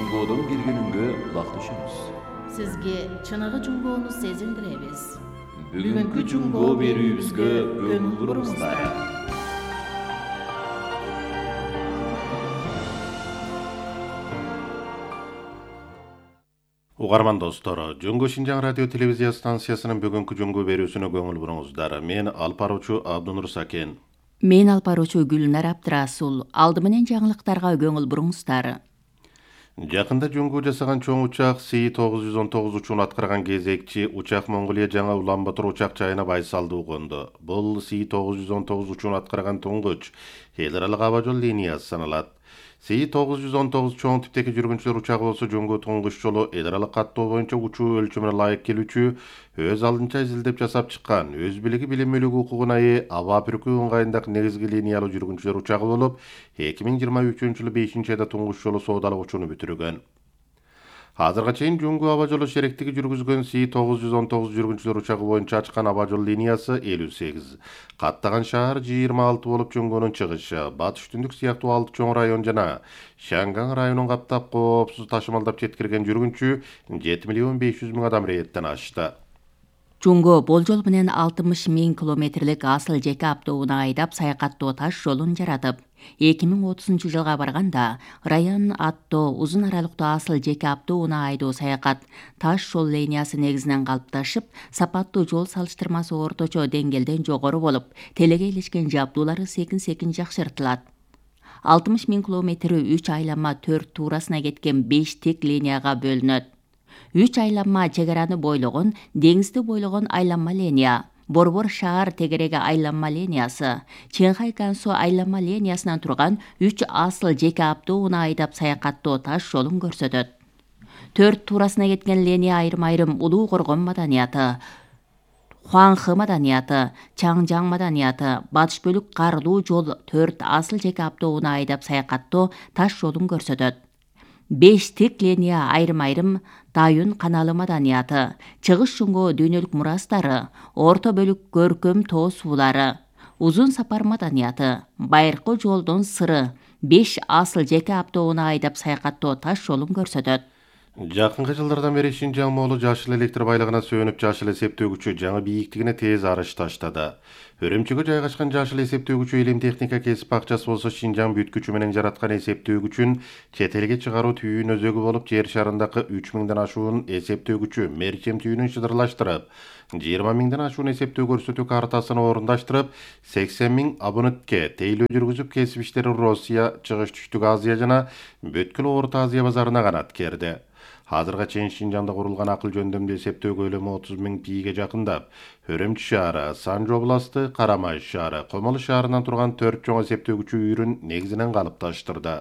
Жуңгоодон киргенинге улакташабыз. Сизге чыныгы жуңгоону сезилдиребиз. Бүгүнкү жуңгоо берүүбүзгө көңүл буруңуздар. Угарман достор, Жуңго Шинжаң радио телевизия станциясынын бүгүнкү жуңгоо берүүсүнө көңүл буруңуздар. Мен алып баруучу Абдунур Сакен. Мен алып баруучу Гүлнар Абдрасул. Алды менен жаңылыктарга көңүл буруңуздар. Жакында жуңгуу жасаган чоң учак Си-919 учуун аткарган кезекчи учак Монголия жаңы Улан-Батор учак жайына байсалдуу конду. Бул Си-919 учуун аткарган туңгуч эл аралык аба жол линиясы саналат. Си-919 чоң типтеги жүргүнчүлөр учагы болсо жуңгуу туңгуч жолу эл аралык каттоо боюнча учуу өлчөмүнө ылайык келүүчү, өз алдынча изилдеп жасап чыккан, өз билиги билимилүү укугуна ээ аба бүркүү ыңгайындагы негизги линиялуу жүргүнчүлөр учагы болуп, 2023-жылы 5-айда туңгуч жолу соодалык учууну бүтүргөн. Азырга чейин жуңгуу аба жолу шеректиги жүргүзгөн Си-919 жүргүнчүлөр учагы боюнча ачкан аба жол линиясы 58, каттаган шаар 26 болуп жуңгуунун чыгышы, батыш түндүк сыяктуу 6 чоң район жана Шанган районун каптап коопсуз ташымалдап жеткирген жүргүнчү 7.500.000 адам рейеттен ашты. Жуңго болжол менен 60.000 километрлик асыл жеке автоунаа айдап саякаттоо таш жолун жаратып, 2030-жылга барганда Раян аттуу узун аралыктуу асыл жеке автоунаа айдоо саякат таш жол линиясы негизинен калыпташып, сапаттуу жол салыштырмасы орточо деңгээлден жогору болуп, телегейлешкен жабдуулары секин-секин жакшыртылат. 60.000 километри 3 айланма 4 туурасына кеткен 5 тик линияга бөлүнөт. 3 айланма чек араны бойлогон, деңизди бойлогон айланма линия, Борбор шаар тегереги айланма линиясы, Ченхай Кансу айланма линиясынан турган 3 асыл жеке автоунаа айдап саякаттоо таш жолун көрсөтөт. 4 туурасына кеткен линия айрым-айрым Улуу Коргон маданияты, Хуанхы маданияты, Чаңжаң маданияты, батыш бөлүк Карлуу жол 4 асыл жеке автоунаа айдап саякаттоо таш жолун көрсөтөт. 5 тик линия айрым-айрым Дайын каналы маданияты, чыгыш жуңгоо дүйнөлүк мурастары, орто бөлүк көркөм тоо суулары, узун сапар маданияты, байыркы жолдун сыры 5 асыл жеке автоунаа айдап саякаттоо таш жолун көрсөтөт. Жакынкы жылдардан бери Шинжаң моолу жашыл электр байлыгына сүйөнүп жашыл эсептөөгүчү жаңы бийиктигине тез арыш таштады. Өрөмчүгө жайгашкан жашыл эсептөөгүчү илим техника кесип акчасы болсо Шинжаң бүткүчү менен жараткан эсептөөгүчүн чет элге чыгаруу түйүн өзөгү болуп, жер шарындагы 3000ден ашуун эсептөөгүчү мерчем түйүнүн шыдырлаштырып, 20.000ден ашуун эсептөө көрсөтүү картасын орундаштырып, 80.000 абонентке тейлөө жүргүзүп, кесип иштери Россия, Чыгыш Түштүк Азия жана Бүткүл Орто Азия базарына канат керди. Азырга чейин Шинжаңда курулган акыл жөндөмдүү эсептөө көлөмү 30.000 пиге жакындап, Өрөмчү шаары, Санжы областы, Карамай шаары, Комолу шаарынан турган 4 чоң эсептөөгүчү үйрүн негизинен калыпташтырды.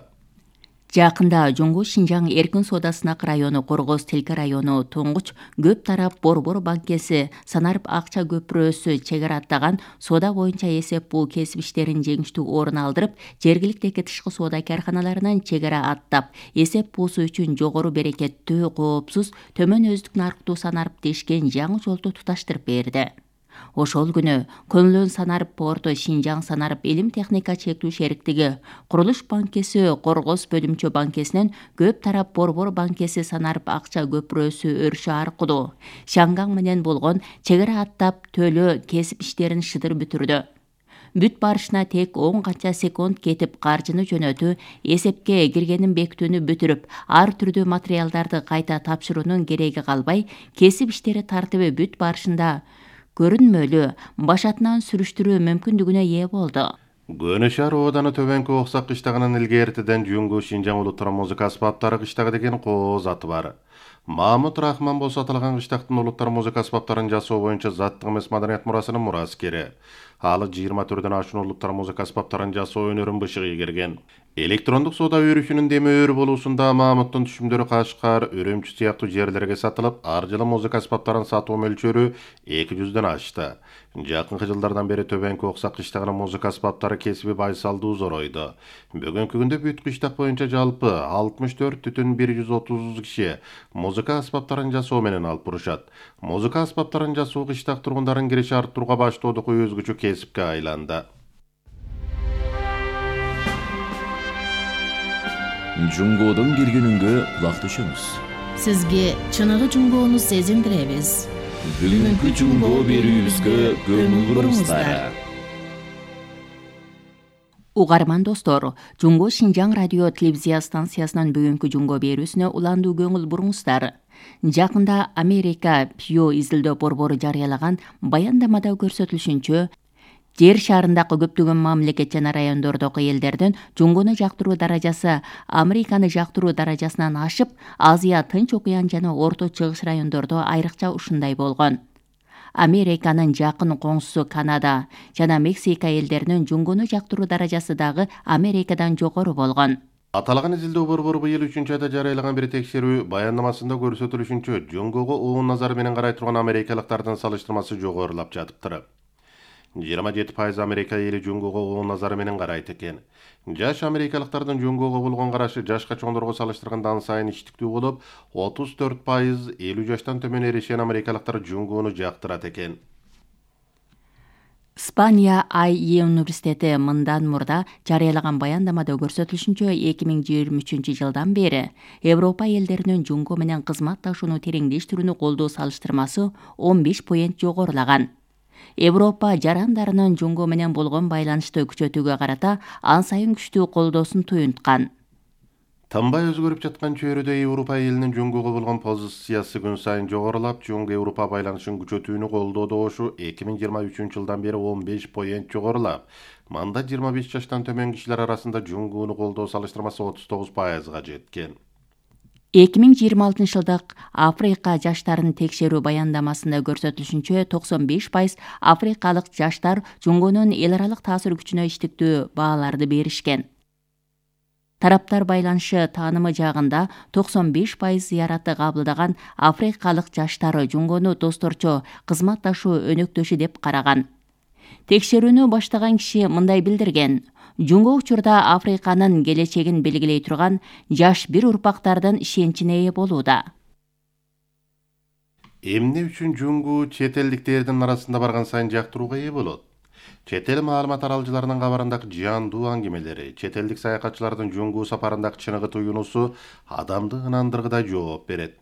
Жакында Жуңго Шинжаң эркин соода сынак району, Коргоз Тилке району, Туңгуч көп тарап Борбор банкеси, Санарып акча көпүрөсү чек ара аттаган соода боюнча эсеп бул кесип иштерин жеңиштүү орун алдырып, жергиликтеги тышкы соода карканаларынан чек ара аттап, эсеп буусу үчүн жогору берекеттүү, коопсуз, төмөн өздүк нарыктуу Санарып дешкен жаңы жолду туташтырып берди. Ошол күнү Көнлөн Санарып порту, Шинжаң Санарып илим техника чектүү шериктиги, Курулуш банкеси, Коргоз бөлүмчө банкесинен көп тарап Борбор банкеси Санарып акча көпүрөсү өрүшү аркылуу Шангаң менен болгон чек ара аттап, төлөө кесип иштерин шыдыр бүтүрдү. Бүт барышына тек 10 канча секунд кетип, каржыны жөнөтүү, эсепке киргенин бекитүүнү бүтүрүп, ар түрдүү материалдарды кайта тапшыруунун кереги калбай, кесип иштери тартиби бүт барышында көрүнмөлүү, башатынан сүрүштүрүү мүмкүндүгүнө ээ болду. Көнө шаар ооданы төбөнкү Оксак кыштагынын илгертиден Жуңго Шинжаң улуттар музыка аспаптары кыштагы деген кооз аты бар. Мамут Рахман болсо аталган кыштактын улуттар музыка аспаптарын жасоо боюнча заттык эмес маданият мурасынын мураскери. Ал 20 түрдөн ашуун улуттар музыка аспаптарын жасоо өнөрүн бышыгы ийгерген. Электрондук соода өрүшүнүн демөөр болуусунда Мамуттун түшүмдөрү Кашкар, Өрөмчү сыяктуу жерлерге сатылып, ар жылы музыка аспаптарын сатуу мөлчөрү 200дөн ашты. Жакынкы жылдардан бери төбөнкү Оксак кыштагынын музыка аспаптары кесиби байсалдуу зоройду. Бүгүнкү күндө бүт кыштак боюнча жалпы 64,130 киши музыка аспаптарын жасоо менен алып бурушат. Музыка аспаптарын жасоо кыштак тургундарын кириши арттырууга баштоодук өзгөчө кесипке айланды. Жунгодон киргенүнгө кулак түшүңүз. Сизге чыныгы жунгоону сезиндиребиз. Бүгүнкү жунгоо берүүбүзгө көңүл буруңуздар. Угарман достор, Жунго Шинжаң радио телевизия станциясынын бүгүнкү жунго берүүсүнө уландуу көңүл буруңуздар. Жакында Америка Pew изилдөө борбору жарыялаган баяндамада көрсөтүлүшүнчө, жер шарындагы көптөгөн мамлекет жана райондордогу элдердин жунгону жактыруу даражасы Американы жактыруу даражасынан ашып, Азия, Тынч окуян жана Орто Чыгыш райондордо айрыкча ушундай болгон. Американын жакын коңшусу Канада жана Мексика элдеринин жунгону жактыруу даражасы дагы Америкадан жогору болгон. Аталган изилдөө борбору быйыл 3-айда жарыялаган бир текшерүү баяндамасында көрсөтүлүшүнчө, жунгого оон назары менен карай турган америкалыктардын салыштырмасы жогорулап жатыптыр. 27% Америка эли жунгого оон назары менен карайт экен. Жаш америкалыктардын жунгого болгон карашы жашка чоңдорго салыштырганда ан сайын иштиктүү болуп, 34% 50 жаштан төмөн эрешен америкалыктар жунгону жактырат экен. Испания IE университети мындан мурда жарыялаган баяндамада көрсөтүлүшүнчө 2023 жылдан бери Европа элдеринин жунго менен кызматташууну тереңдештирүүнү колдоо салыштырмасы 15 поинт жогорулаган. Европа жарандарынын жунго менен болгон байланышты күчөтүүгө карата ан сайын күчтүү колдоосун туюнткан. Тынбай өзгөрүп жаткан чөйрөдө Европа элинин жунгого болгон позициясы күн сайын жогорулап, Жунго-Европа байланышын күчөтүүнү колдоодо ошу 2023 жылдан бери 15 поинт жогорулап, мында 25 жаштан төмөн кишилер арасында жунгону колдоо салыштырмасы 39%га жеткен. 2026 жылдык Африка жаштарын текшерүү баяндамасында көрсөтүлүшүнчө 95% африкалык жаштар жунгонун эл аралык таасир күчүнө иштиктүү бааларды беришкен. Тараптар байланышы таанымы жагында 95% зыяратты кабылдаган африкалык жаштары жунгону досторчо кызматташуу өнөктөшү деп караган. Текшерүүнү баштаган киши мындай билдирген: жунго учурда Африканын келечегин белгилей турган жаш бир урпактардын ишеничине ээ болууда. Эмне үчүн жунгу чет элдиктердин арасында барган сайын жактырууга ээ болот? Чет эл маалымат аралжыларынын кабарындагы жаандуу аңгемелери, чет элдик саякатчылардын жунгу сапарындагы чыныгы туюнуусу адамды ынандыргыдай жооп берет.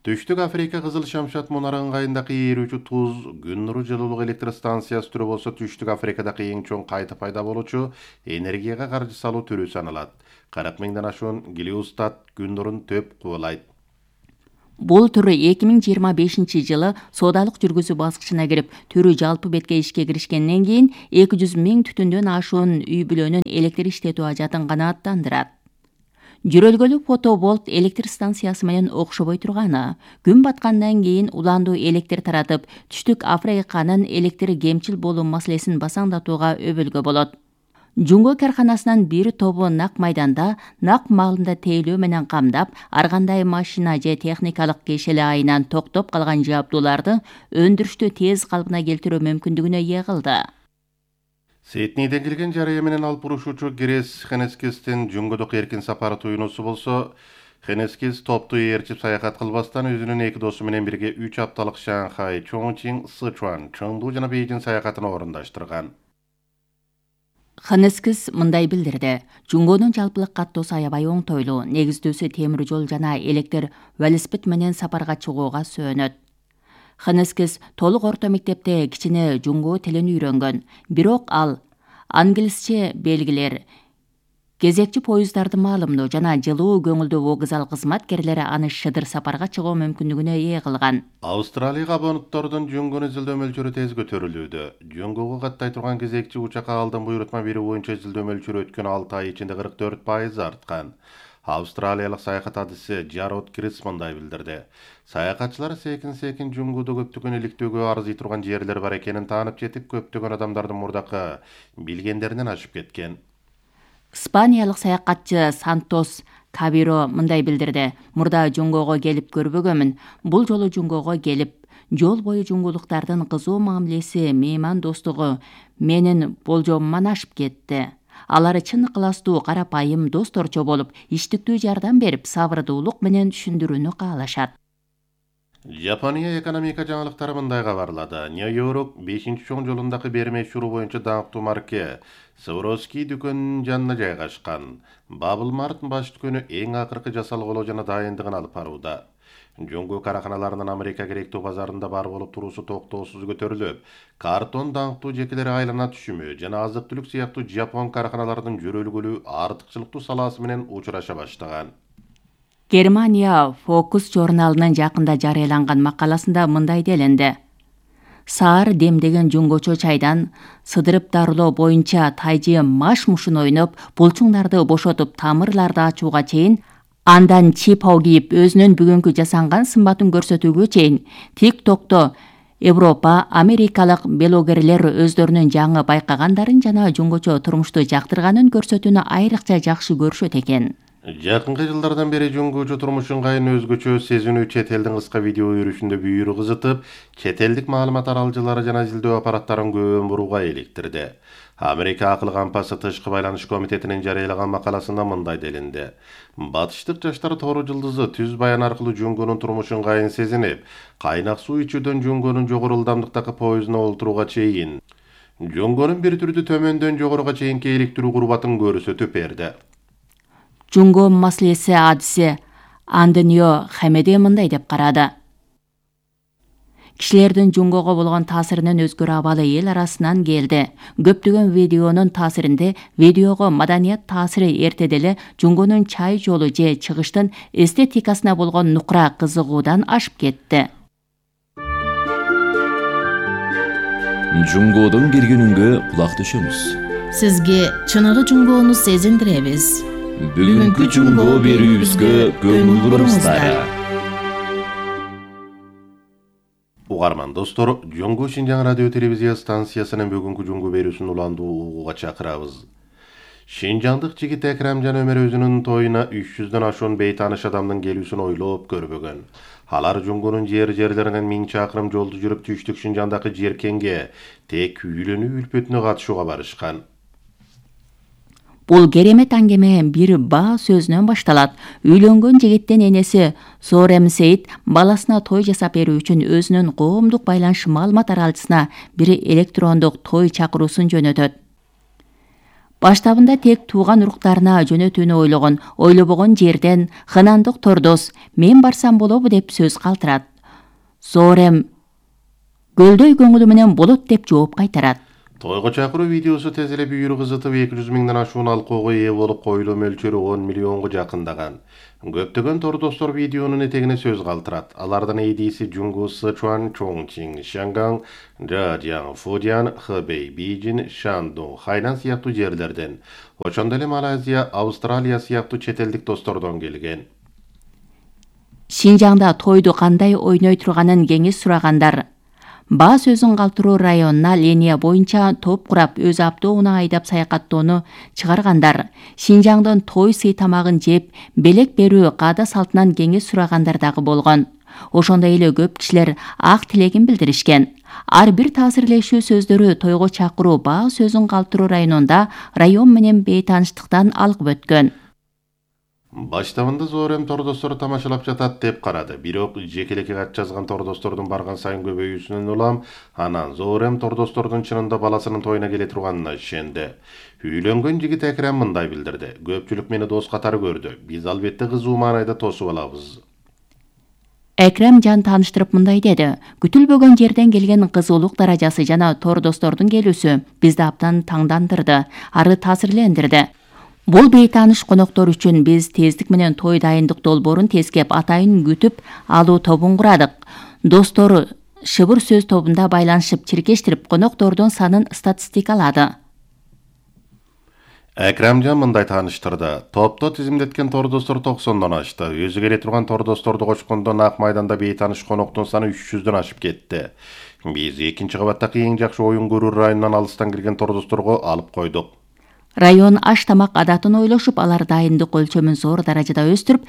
Түштүк Африка Кызыл Шамшат мунары ыңгайындагы ээрүүчү туз күн нуру жылуулук электр станциясы түрү болсо, Түштүк Африкадагы эң чоң кайта пайда болуучу энергияга каржы салуу түрү саналат. 40 миңден ашуун Гелиостат күн нурун төп кубулайт. Бул түрү 2025 жылы соодалык жүргүзүү баскычына кирип, түрү жалпы бетке ишке киришкенден кийин 200 миң түтүндөн ашуун үй бүлөнүн электр иштетүү ажатын канааттандырат. Жөрөлгөлүү фотоболт электр станциясы менен окшобой турганы, күн баткандан кийин уландуу электр таратып, Түштүк Африканын электр кемчил болуу маселесин басаңдатууга өбөлгө болот. Жунго карканасынын бир тобу нак майданда, нак маалында тейлөө менен камдап, ар кандай машина же техникалык кешели айынан токтоп калган жабдууларды өндүрүштү тез калыбына келтирүү мүмкүндүгүнө ээ кылды. Сиднейден келген жарыя менен алып урушуучу Грес Хенескистин жунгодок эркин сапары туюнуусу болсо, Хенескис топту ээрчип саякат кылбастан өзүнүн эки досу менен бирге 3 апталык Шанхай, Чоңчин, Сычуан, Чоңду жана Бейжин саякатын орундаштырган. Хенескис мындай билдирди: жунгонун жалпылык каттоосу аябай оңтойлуу, негиздөөсү темир жол жана электр велосипед менен сапарга чыгууга сөөнөт. Хенескис толук орто мектепте кичине жунго тилин үйрөнгөн, бирок ал англисче белгилер, кезекчи поездарды маалымдоо жана жылуу көңүлдүү вокзал кызматкерлери аны шыдыр сапарга чыгуу мүмкүндүгүнө ээ кылган. Австралияга абонуттордун жунгону изилдөө мөлчөрү тез көтөрүлүүдө. Жунгого каттай турган кезекчи учакка алдын буйрутма бери боюнча изилдөө мөлчөрү өткөн 6 ай ичинде 44% арткан. Австралиялык саякат адиси Жарод Крис мындай билдирди: саякатчылар секин жунгудо көптөгөн иликтөөгө арзый турган жерлер бар экенин таанып жетип, көптөгөн адамдардын мурдакы билгендеринен ашып кеткен. Испаниялык саякатчы Сантос Кабиро мындай билдирди: мурда жунгого келип көрбөгөмүн. Бул жолу жунгого келип, жол бою жунгулуктардын кызуу мамилеси, мейман достугу менин болжомуман ашып кетти. Алар чын ыкыластуу, карапайым, досторчо болуп, иштиктүү жардам берип, сабырдуулук менен түшүндүрүүнү каалашат. Япония экономика жаңылыктары мындай кабарлады. Нью-Йорк 5-чоң жолундагы берме шуру боюнча даңктуу марке Swarovski дүкөнүнүн жанына жайгашкан. Bubble Mart баш дүкөнү эң акыркы жасалгылоо жана дайындыгын алып барууда. Жоңгу караханаларынын Америка керектүү базарында бар болуп туруусу токтоосуз көтөрүлүп, картон даңктуу жекелер айлана түшүмү жана азык-түлүк сыяктуу жапон караханаларынын жөрөлгөлүү артыкчылыктуу салаасы менен учураша баштаган. Германия Focus журналынын жакында жарыяланган макаласында мындай делинди. Саар демдеген жуңгочо чайдан сыдырып дарылоо боюнча тайжы маш-мушун ойноп, булчуңдарды бошотуп, тамырларды ачууга чейин, андан чипау кийип өзүнүн бүгүнкү жасанган сымбатын көрсөтүүгө чейин TikTok'то Европа, америкалык блогерлер өздөрүнүн жаңы байкагандарын жана жуңгочо турмушту жактырганын көрсөтүүнү айрыкча жакшы көрүшөт экен. Жакынкы жылдардан бери жуңгучу турмуш ыңгайын өзгөчө сезинүү чет элдин кыска видео өрүшүндө бүйүрү кызытып, чет элдик маалымат аралжылары жана изилдөө аппараттарын көбөн бурууга иликтирди. Америка акыл кампасы тышкы байланыш комитетинин жарыялаган макаласында мындай делинди. Батыштык жаштар тору жылдызы түз баян аркылуу жуңгунун турмуш ыңгайын сезинип, кайнак суу ичүүдөн жуңгунун жогору ылдамдыктагы поездуна олтурууга чейин, жуңгунун бир түрдү төмөндөн жогоруга чейинки иликтирүү курбатын көрсөтүп берди. Жуңго маселеси адиси Андонио Хамеде мындай деп карады. Кишилердин жуңгого болгон таасиринин өзгөрө абалы эл арасынан келди. Көптөгөн видеонун таасиринде видеого маданият таасири эртеде эле жуңгонун чай жолу же чыгыштын эстетикасына болгон нукура кызыгуудан ашып кетти. Жуңгодон киргенүнгө кулак түшөмүз. Сизге чыныгы жуңгоону сезиндиребиз. Бүгүнкү жуңго берүүбүзгө көңүл буруңуздар. Угарман достор, Жоңго Шинжаң радио телевизия станциясынын бүгүнкү жуңго берүүсүн уландуу угууга чакырабыз. Шинжаңдык жигит Экрамжан Өмөр өзүнүн тоюна 300дөн ашуун бейтааныш адамдын келүүсүн ойлоп көрбөгөн. Алар жуңгонун жерлеринен 1000 чакырым жолду жүрүп түштүк Шинжаңдагы жеркенге тек үйлөнүү үлпөтүнө катышууга барышкан. Бул керемет аңгеме бир баа сөзүнөн башталат. Үйлөнгөн жигиттин энеси Зорем Сейит баласына той жасап берүү үчүн өзүнүн коомдук байланыш маалымат аралчысына бир электрондук той чакыруусун жөнөтөт. Баштабында тек тууган уруктарына жөнөтүүнү ойлобогон жерден Хынандык Тордос мен барсам болобу деп сөз калтырат. Зорем көлдөй көңүлү менен болот деп жооп кайтарат. Тойго чакыруу видеосу тез эле бүйүрү кызытып 200 миңден ашуун алкоого ээ болуп, коюлуу мөлчөрү 10 миллионго жакындаган. Көптөгөн тордостор видеонун этегине сөз калтырат. Алардын эдиси Жуңгу, Сычуан, Чоңчиң, Шанган, Жажяң, Фудян, Хэбэй, Бейжин, Шандун, Хайнан сыяктуу жерлерден, ошондой эле Малайзия, Австралия сыяктуу чет элдик достордон келген. Шинжаңда тойду кандай ойной турганын кеңеш сурагандар. Баа сөзүн калтыруу районуна линия боюнча топ курап өз автоуна айдап саякаттоону чыгаргандар. Шинжаңдын той сый тамагын жеп, белек берүү каада салтынан кеңеш сурагандар дагы болгон. Ошондой эле көп кишилер ак тилегин билдиришкен. Ар бир таасирлешүү сөздөрү тойго чакыруу баа сөзүн калтыруу районунда район менен бейтааныштыктан алгып өткөн. Баштабында Зорем тордостор тамашалап жатат деп карады. Бирок жекелекке кат жазган тордостордун барган сайын көбөйүүсүнөн улам, анан Зорем тордостордун чынында баласынын тоюна келе турганына ишенди. Үйлөнгөн жигит Экрам мындай билдирди. Көпчүлүк мени дос катары көрдү. Биз албетте кызуу маанайда тосуп алабыз. Экрам жан тааныштырып мындай деди. Күтүлбөгөн жерден келген кызуулук даражасы жана тордостордун келүүсү бизди абдан таңдандырды, ары таасирлендирди. Бул бейтааныш коноктор үчүн биз тездик менен той дайындык долбоорун тескеп атайын күтүп алуу тобун курадык. Достор шыбыр сөз тобунда байланышып чиркештирип коноктордун санын статистикалады. Экрамжан мындай тааныштырды. Топто тизимдеткен тордостор 90дон ашты. Өзү келе турган тордосторду кочкондо Ак майданда бейтааныш коноктун саны 300дөн ашып кетти. Биз экинчи кабаттагы эң жакшы оюн көрүү районунан алыстан кирген тордосторго алып койдук. Район аш тамак адатын ойлошуп, алар дайындык өлчөмүн зор даражада өстүрүп,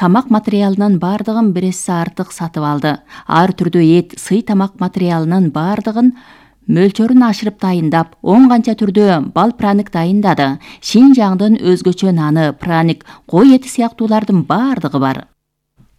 тамак материалынын баардыгын бир эсе артык сатып алды. Ар түрдүү эт, сый тамак материалынын баардыгын мөлчөрүн ашырып дайындап, 10 канча түрдүү бал праник дайындады. Шинжаңдын өзгөчө наны, праник, кой эти сыяктуулардын баардыгы бар.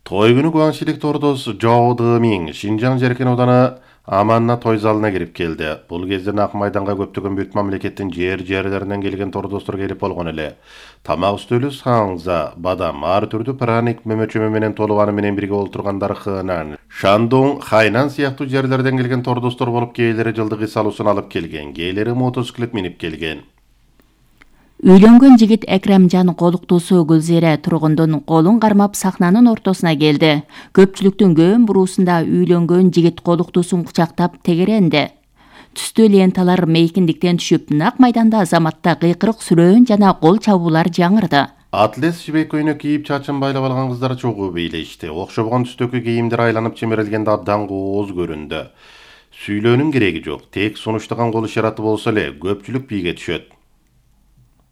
Той күнү Гуаншилик тордос Жао Дымин Шинжаң жеркен ауданы Аманна той залына кирип келди. Бул кезде Ак майданга көптөгөн бүт мамлекеттин жерлеринен келген тордостор келип болгон эле. Тамак үстөлү саңза, бадам, ар түрдүү праник мөмөчөмө менен толуп аны менен бирге олтургандар Хынан, Шандун, Хайнан сыяктуу жерлерден келген тордостор болуп, кээлери жылдык үй салуусун алып келген, кээлери мотоциклет минип келген. Үйлөнгөн жигит Экремжан колуктуусу Гүлзере тургундун колун кармап сахнанын ортосуна келди. Көпчүлүктүн көбүн буруусунда үйлөнгөн жигит колуктуусун кучактап тегеренди. Түстүү ленталар мейкиндиктен түшүп, Ак майданда Азаматта кыйкырык сүрөөн жана кол чабуулар жаңырды. Атлет жибек көйнөк кийип чачын байлап алган кыздар чогуу бийлешти. Окшобгон түстөгү кийимдер айланып чемирилгенде абдан кооз көрүндү. Сүйлөөнүн кереги жок, тек сунуштаган кол ишараты болсо эле көпчүлүк бийге түшөт.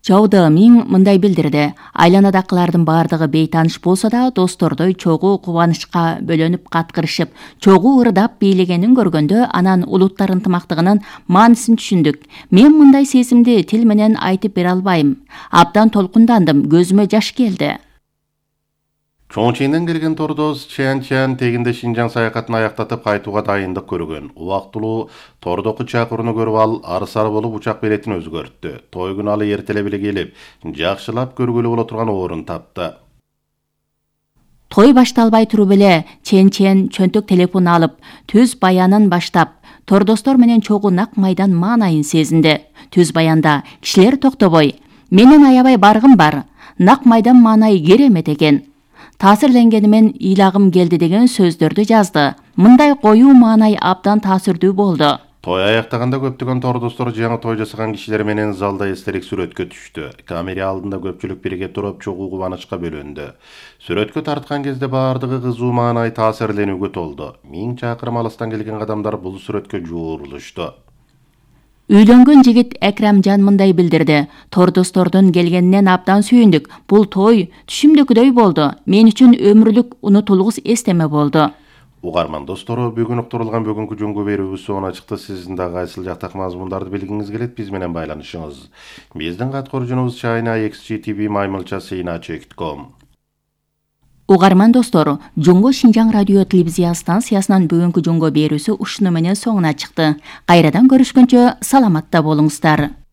Жао Дымин мындай билдирди. Айланадакылардын баардыгы бейтаныш болсо да, достордой чогуу кубанычка бөлөнүп каткырышып, чогуу ырдап бийлегенин көргөндө анан улуттар ынтымактыгынын маанисин түшүндүк. Мен мындай сезимди тил менен айтып бере албайм. Абдан толкундандым, көзүмө жаш келди. Чоңчеңден келген тордос Чан тегинде Шинжаң саякатын аяктатып кайтууга дайындык көргөн. Убактылуу тордоку чакырууну көрүп ал арсар болуп учак билетин өзгөрттү. Той күнү ал эртелеп эле келип, жакшылап көргөлү боло турган орун тапты. Той башталбай туруп эле Чен чөнтөк телефон алып, түз баянын баштап, тордостор менен чогуу Ак майдан маанайын сезинди. Түз баянда кишилер токтобой, менин аябай баргым бар. Ак майдан маанайы керемет экен. Таасирленгенимен ыйлагым келди деген сөздөрдү жазды. Мындай коюу маанай абдан таасирдүү болду. Той аяктаганда көптөгөн тордостор жаңы той жасаган кишилер менен залда эстелик сүрөткө түштү. Камера алдында көпчүлүк бирге туруп чогуу кубанычка бөлөндү. Сүрөткө тарткан кезде баардыгы кызуу маанай таасирленүүгө толду. 1000 чакырым алыстан келген адамдар бул сүрөткө жуурулушту. Үйлөнгөн жигит Экремжан мындай билдирди. Тордостордун келгенинен абдан сүйүндүк. Бул той түшүмдөгүдөй болду. Мен үчүн өмүрлүк унутулгус эстеме болду. Угарман достору, бүгүн уктурулган бүгүнкү жөнгө берүүбүз сонуна чыкты. Сиздин дагы кайсыл жактагы мазмундарды билгиңиз келет, биз менен байланышыңыз. Биздин каткооружубуз china@xgtv-sina.com. Угарман достору, Жөнгө Шинжаң радио телевизия станциясынын бүгүнкү жөнгө берүүсү ушуну менен соңуна чыкты. Кайрадан көрүшкөнчө саламатта болуңуздар.